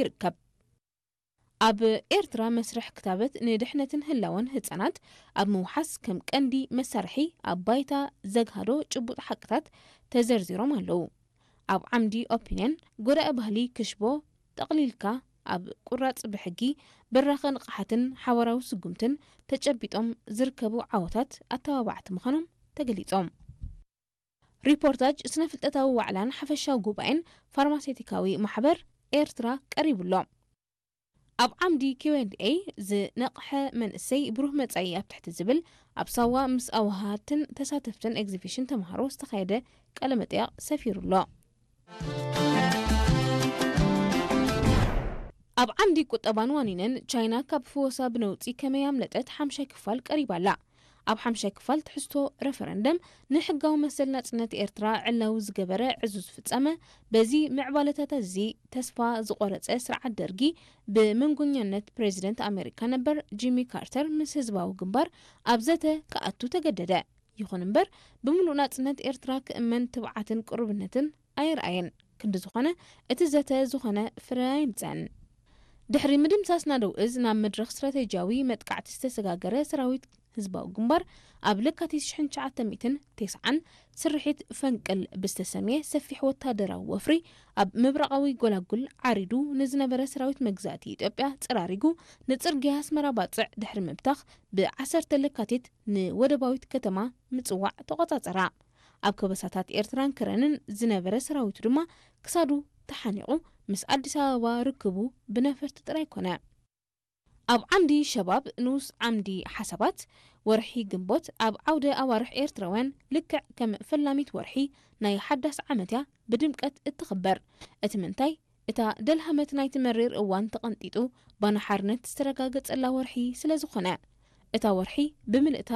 ይርከብ። ኣብ ኤርትራ መስርሕ ክታበት ንድሕነትን ህላወን ህጻናት ኣብ ምውሓስ ከም ቀንዲ መሳርሒ ኣብ ባይታ ዘግሃዶ ጭቡጥ ሓቅታት ተዘርዚሮም ኣለዉ። ኣብ ዓምዲ ኦፒንየን፣ ጎዳኢ ባህሊ ክሽቦ ጠቕሊልካ ኣብ ቁራጽ ብሕጊ፣ ብራኸ ንቕሓትን ሓባራዊ ስጉምትን ተጨቢጦም ዝርከቡ ዓወታት ኣተባባዕቲ ምዃኖም ተገሊጾም። ሪፖርታጅ ስነ ፍልጠታዊ ዋዕላን ሓፈሻዊ ጉባኤን ፋርማሴቲካዊ ማሕበር ኤርትራ ቀሪቡ ኣሎ። ኣብ ዓምዲ ኪው ኤንድ ኤ ዝነቕሐ መንእሰይ ብሩህ መጻኢ ኣብ ትሕቲ ዝብል ኣብ ሳዋ ምስ ኣውሃትን ተሳተፍትን ኤግዚቢሽን ተምሃሮ ዝተኻየደ ቃለ መጠይቕ ሰፊሩ ኣሎ። ኣብ ዓምዲ ቁጠባን ዋኒንን ቻይና ካብ ፍወሳ ብነውጺ ከመይ ኣምለጠት ሓምሻይ ክፋል ቀሪባ ኣላ። ኣብ ሓምሻይ ክፋል ትሕዝቶ ረፈረንደም ንሕጋዊ መሰል ናጽነት ኤርትራ ዕላዊ ዝገበረ ዕዙዝ ፍጻመ፣ በዚ ምዕባለታት እዚ ተስፋ ዝቖረጸ ስርዓት ደርጊ ብመንጎኛነት ፕሬዚደንት ኣሜሪካ ነበር ጂሚ ካርተር ምስ ህዝባዊ ግንባር ኣብ ዘተ ክኣቱ ተገደደ። ይኹን እምበር ብምሉእ ናጽነት ኤርትራ ክእመን ትብዓትን ቅሩብነትን ኣየርኣየን። ክንዲ ዝኾነ እቲ ዘተ ዝኾነ ፍረ ኣይምጸን። ድሕሪ ምድምሳስ ናደው እዝ ናብ መድረኽ ስትራቴጂያዊ መጥቃዕቲ ዝተሰጋገረ ሰራዊት ህዝባዊ ግንባር ኣብ ለካቲት ሽሕን ትሽዓተ ሚእትን ተስዓን ስርሒት ፈንቅል ብዝተሰምየ ሰፊሕ ወታደራዊ ወፍሪ ኣብ ምብራቓዊ ጎላጉል ዓሪዱ ንዝነበረ ሰራዊት መግዛእቲ ኢትዮጵያ ጸራሪጉ ንጽርግያ ኣስመራ ባጽዕ ድሕሪ ምብታኽ ብዓሰርተ ለካቲት ንወደባዊት ከተማ ምጽዋዕ ተቖጻጸራ። ኣብ ከበሳታት ኤርትራን ከረንን ዝነበረ ሰራዊቱ ድማ ክሳዱ ተሓኒቑ ምስ ኣዲስ ኣበባ ርክቡ ብነፈርቲ ጥራይ ኮነ። ኣብ ዓምዲ ሸባብ ንኡስ ዓምዲ ሓሳባት፣ ወርሒ ግንቦት ኣብ ዓውደ ኣዋርሕ ኤርትራውያን ልክዕ ከም ፈላሚት ወርሒ ናይ ሓዳስ ዓመት እያ ብድምቀት እትኽበር። እቲ ምንታይ፣ እታ ደልሃመት ናይቲ መሪር እዋን ተቐንጢጡ ባና ሓርነት ዝተረጋገጸላ ወርሒ ስለ ዝኾነ። እታ ወርሒ ብምልእታ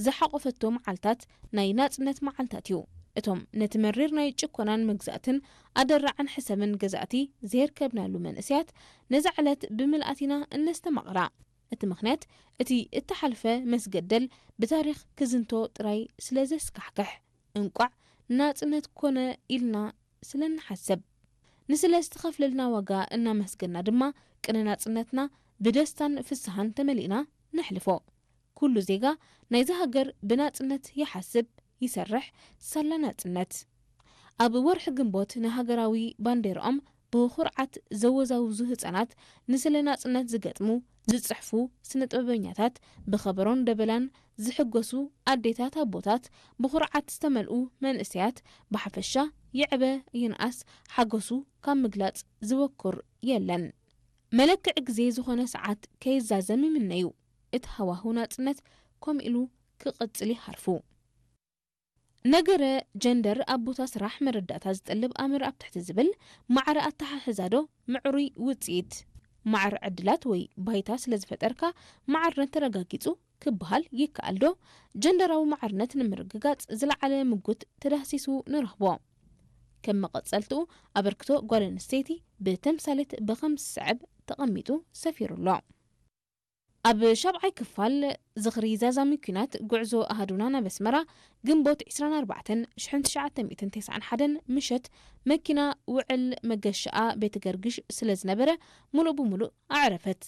ዝሓቖፈቶ መዓልታት ናይ ናጽነት መዓልታት እዩ። እቶም ነቲ መሪር ናይ ጭኮናን መግዛእትን ኣደራዕን ሕሰምን ገዛእቲ ዘየርከብናሉ መንእሰያት ነዛ ዕለት ብምልኣት ኢና እነስተማቕራ። እቲ ምኽንያት እቲ እተሓልፈ መስገደል ብታሪኽ ክዝንቶ ጥራይ ስለ ዘስካሕክሕ፣ እንቋዕ ናጽነት ኮነ ኢልና ስለ እንሓስብ። ንስለ ዝተኸፍለልና ዋጋ እናመስገና ድማ ቅነ ናጽነትና ብደስታን ፍስሃን ተመሊእና ነሕልፎ። ኩሉ ዜጋ ናይዛ ሃገር ብናጽነት ይሓስብ፣ ይሰርሕ፣ ሳላ ናጽነት። ኣብ ወርሒ ግንቦት ንሃገራዊ ባንዴራኦም ብኹርዓት ዘወዛውዙ ህጻናት፣ ንስለ ናጽነት ዝገጥሙ፣ ዝጽሕፉ ስነ ጥበበኛታት፣ ብኸበሮን ደበላን ዝሕጎሱ ኣዴታት ኣቦታት፣ ብኹርዓት ዝተመልኡ መንእሰያት፣ ብሓፈሻ ይዕበ ይንኣስ ሓጎሱ ካብ ምግላጽ ዝበኩር የለን። መለክዒ ግዜ ዝኾነ ሰዓት ከይዛዘም ይምነዩ። እቲ ሃዋህው ናጽነት ከምኡ ኢሉ ክቕጽል ይሃርፉ። ነገረ ጀንደር ኣብ ቦታ ስራሕ መረዳእታ ዝጠልብ ኣምር ኣብ ትሕቲ ዝብል ማዕረ ኣተሓሕዛ ዶ ምዕሩይ ውጽኢት? ማዕረ ዕድላት ወይ ባይታ ስለ ዝፈጠርካ ማዕርነት ተረጋጊጹ ክበሃል ይከኣል ዶ? ጀንደራዊ ማዕርነት ንምርግጋጽ ዝለዓለ ምጉት ተዳህሲሱ ንረኽቦ። ከም መቐጸልትኡ ኣበርክቶ ጓል ኣንስተይቲ ብተምሳሌት ብኸም ዝስዕብ ተቐሚጡ ሰፊሩ ኣሎ። ኣብ ሻብዓይ ክፋል ዝኽሪ ዛዛሚ ኲናት ጉዕዞ ኣሃዱና ናብ ኣስመራ ግንቦት ዕስራን ኣርባዕተን ሽሕን ትሽዓተ ሚእትን ተስዓን ሓደን ምሸት መኪና ውዕል መገሻኣ ቤተ ገርግሽ ስለ ዝነበረ ምሉእ ብምሉእ ኣዕረፈት።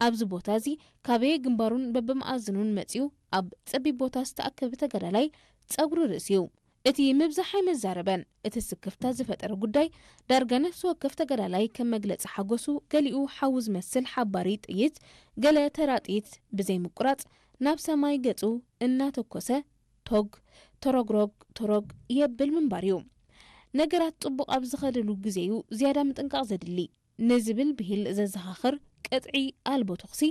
ኣብዚ ቦታ እዚ ካበየ ግንባሩን በብመኣዝኑን መጺኡ ኣብ ጸቢብ ቦታ ዝተኣከበ ተጋዳላይ ጸጉሪ ርእሲ እዩ። እቲ ምብዛሕ ኣይመዛረበን። እቲ ስክፍታ ዝፈጠረ ጉዳይ ዳርጋ ነፍሲ ወከፍ ተጋዳላይ ከም መግለጺ ሓጎሱ ገሊኡ ሓዊ ዝመስል ሓባሪ ጥይት፣ ገለ ተራ ጥይት ብዘይ ምቁራጽ ናብ ሰማይ ገጹ እናተኮሰ ቶግ፣ ተሮግሮግ፣ ተሮግ የብል ምንባር እዩ። ነገራት ጽቡቕ ኣብ ዝኸደሉ ግዜ እዩ ዝያዳ ምጥንቃቕ ዘድሊ። ንዝብል ብሂል ዘዘኻኽር ቅጥዒ ኣልቦ ተኹሲ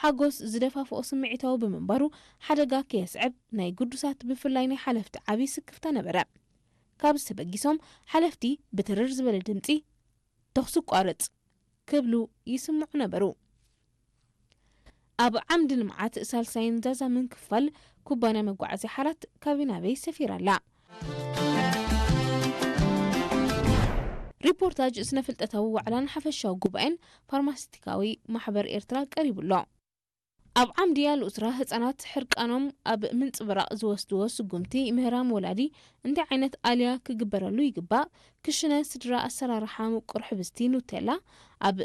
ሓጎስ ዝደፋፍኦ ስምዒታዊ ብምንባሩ ሓደጋ ከየስዕብ ናይ ግዱሳት ብፍላይ ናይ ሓለፍቲ ዓቢ ስክፍታ ነበረ። ካብዚ ተበጊሶም ሓለፍቲ ብትርር ዝበለ ድምጺ "ተኹሲ ቋርጽ" ክብሉ ይስምዑ ነበሩ። ኣብ ዓምዲ ልምዓት ሳልሳይን ዛዛምን ክፋል ኩባንያ መጓዓዝያ ሓራት ካበይ ናበይ ሰፊራ ኣላ። ሪፖርታጅ ስነ ፍልጠታዊ ዋዕላን ሓፈሻዊ ጉባኤን ፋርማሲቲካዊ ማሕበር ኤርትራ ቀሪቡ ኣሎ። ኣብ ዓምዲ ኣልኡስራ ህጻናት ሕርቃኖም ኣብ ምንጽብራቕ ዝወስድዎ ስጉምቲ ምህራም ወላዲ እንታይ ዓይነት ኣልያ ክግበረሉ ይግባእ? ክሽነ ስድራ ኣሰራርሓ ምቁር ሕብስቲ ኑቴላ ኣብ